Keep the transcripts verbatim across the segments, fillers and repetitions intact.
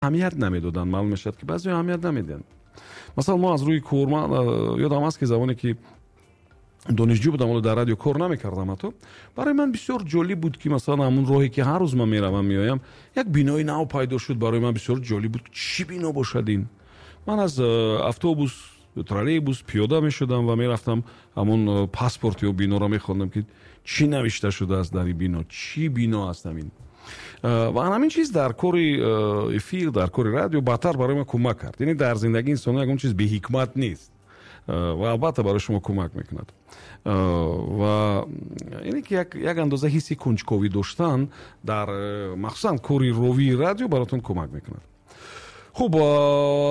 Аҳамият намедоданд. Маълум мешавад, ки баъзеҳо аҳамият намедиҳанд. Масалан, мо аз рӯи кор, ман ёдам аст, ки замоне ки донишҷӯ будам, ҳоло дар радио кор намекардам, ҳатто барои ман бисёр ҷолиб буд, ки масалан ҳамун роҳе ки ҳар рӯз ман меравам, меоям, як бинои нав пайдо шуд. Барои ман бисёр ҷолиб буд, чӣ бино бошад ин. Ман аз автобус, троллейбус пиёда мешудам ва мерафтам, ҳамун паспорти ё биноро мехондам, ки чӣ навишта шудааст дар ин бино, чӣ бино аст ҳамин. Ва ҳамин чиз дар кори эфир, дар кори радио баъдтар барои ман кӯмак кард. Яъне дар зиндагии инсон ягон чиз беҳикмат нест ва албатта барои шумо кӯмак мекунад. Ва яъне ки як андоза ҳисси кунҷковӣ доштан дар махсусан кори ровии радио баротон кӯмак мекунад. Хуб,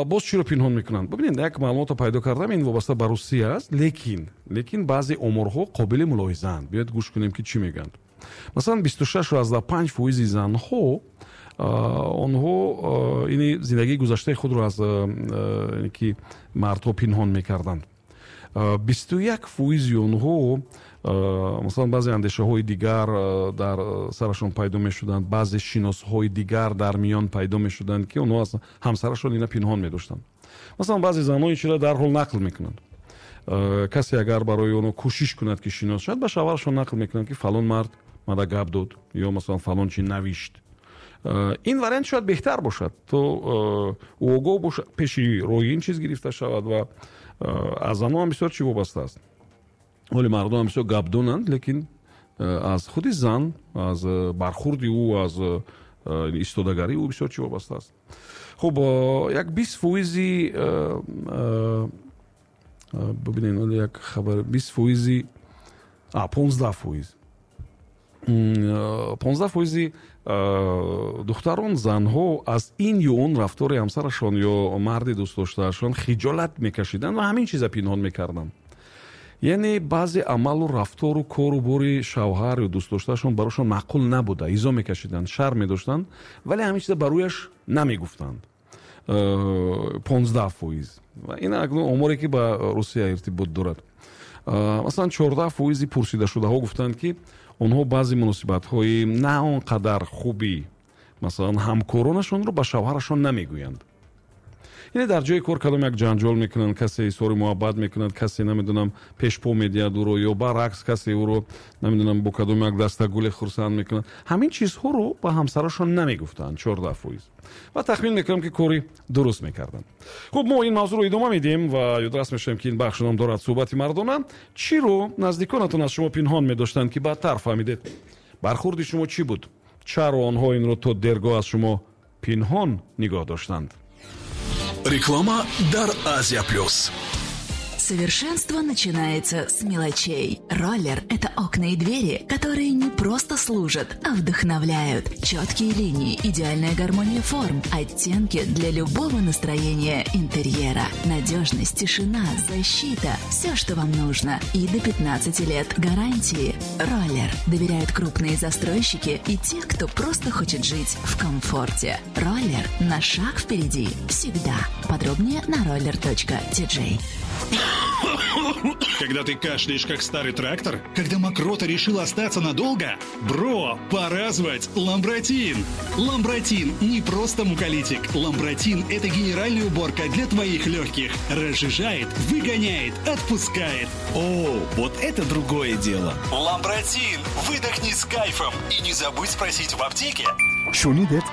боз чиро пинҳон мекунанд? Бибинед, як маълумотро пайдо кардам, ин вобаста ба Русия аст, лекин лекин баъзе оморҳо қобили мулоҳизаанд. Биёед, гӯш кунем, ки чӣ мегӯянд. Масалан, бисту шашу аздаҳ панҷ фоизи занҳо, онҳо ини зиндагии гузаштаи худро аз ки мардҳо пинҳон мекарданд. Бисту як фоизи онҳо, масалан, баъзе андешаҳои дигар дар сарашон пайдо мешуданд, баъзе шиносҳои дигар дар миён пайдо мешуданд, ки онҳо аз ҳамсарашон ина пинҳон медоштанд. Масалан, баъзе занҳо ин чизро дарҳол нақл мекунанд. Касе агар барои онҳо кӯшиш кунад, ки шинос шавад, ба шавҳарашон нақл мекунанд, ки фалон мард мада гап дод ё масалан фалон чи навишт. Ин вариант шояд беҳтар бошад, то ӯ огоҳ бошад, пеши роҳи ин чиз гирифта шавад. Ва аз занҳо ҳам бисёр чӣ вобаста аст. Ҳоли мардон ҳам бисёр гапдонанд, лекин аз худи зан, аз бархурди ӯ, аз истодагарии ӯ бисёр чӣ вобаста аст. Хуб, як бист фоизи, бибинед, як хабар, бист фоизи, понздаҳ фоиз, понздаҳ фоизи духтарон, занҳо аз ин ё он рафтори ҳамсарашон ё марди дӯстдоштаашон хиҷолат мекашиданд ва ҳамин чиза пинҳон мекарданд. Яъне баъзе амалу рафтору кору бори шавҳар ё дӯстдоштаашон барошон маъқул набуда, изо мекашиданд, шарм медоштанд, вале ҳамин чиза ба рӯяш намегуфтанд. Понздаҳ фоиз. Ин акнун оморе, ки ба Русия иртибот дорад. Масалан, чордаҳ фоизи пурсидашудаҳо гуфтанд, ки онҳо баъзе муносибатҳои на он қадар хуби, масалан, ҳамкоронашонро ба шавҳарашон намегӯянд. Яъне дар ҷои кор кадом як ҷанҷол мекунанд, касе изҳори муҳаббат мекунад, касе, намедонам, пешпо медиҳад ӯро ё баръакс, касе ӯро, намедонам, бо кадом як дастагуле хурсанд мекунад, ҳамин чизҳоро ба ҳамсарашон намегуфтанд чордаҳ фоиз. Ва тахмин мекунам, ки кори дуруст мекарданд. Хуб, мо ин мавзӯъро идома медиҳем ва ёдрас мешавем, ки ин бахш ном дорад «Суҳбати мардона». Чиро наздиконатон аз шумо пинҳон медоштанд, ки баъдтар фаҳмидед? Бархурди шумо чӣ буд? Чаро онҳо инро то дергоҳ аз шумо пинҳон нигоҳ доштанд? Реклама дар Азия Плюс. Совершенство начинается с мелочей. Роллер – это окна и двери, которые не просто служат, а вдохновляют. Четкие линии, идеальная гармония форм, оттенки для любого настроения интерьера. Надежность, тишина, защита – все, что вам нужно. И до пятнадцати лет гарантии. Роллер. Доверяют крупные застройщики и те, кто просто хочет жить в комфорте. Роллер на шаг впереди. Всегда. Подробнее на roller.tj. Когда ты кашляешь, как старый трактор? Когда мокрота решила остаться надолго? Бро, пора звать Ламбратин! Ламбратин не просто муколитик. Ламбратин – это генеральная уборка для твоих легких. Разжижает, выгоняет, отпускает. О, вот это другое дело. Ламбратин! Выдохни с кайфом. И не забудь спросить в аптеке. Шунидед,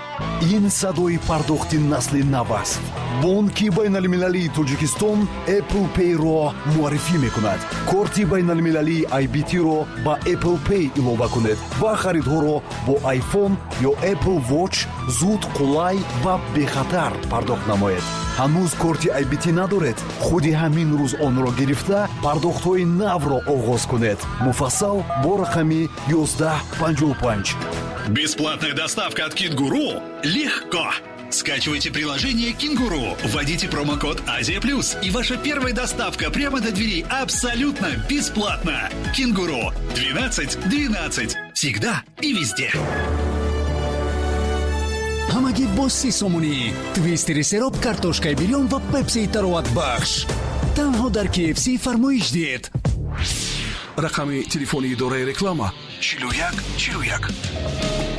ин садои пардохти насли нав аст. Бонки байналмилалии Тоҷикистон Apple Pay-ро муаррифӣ мекунад. Корти байналмилалии I B T-ро ба Apple Pay илова кунед ва харидҳоро бо iPhone ё Apple Watch зуд, қулай ва бехатар пардохт намоед. Ҳанӯз корти I B T надоред? Худи ҳамин рӯз онро гирифта, пардохтҳои навро оғоз кунед. Муфассал бо рақами ёздаҳ панҷоҳу панҷ. Бесплатная доставка от Кенгуру? Легко! Скачивайте приложение «Кенгуру», вводите промокод «Азия Плюс», и ваша первая доставка прямо до двери абсолютно бесплатно. «Кенгуру» двенадцать двенадцать. Всегда и везде. Ҳамагӣ бо си сомонӣ твистери сероб, картошкаи бирён ва пепсии тароватбахш танҳо дар K F C фармоиш диҳед. Рақами телефони идораи реклама чилу як чилу як.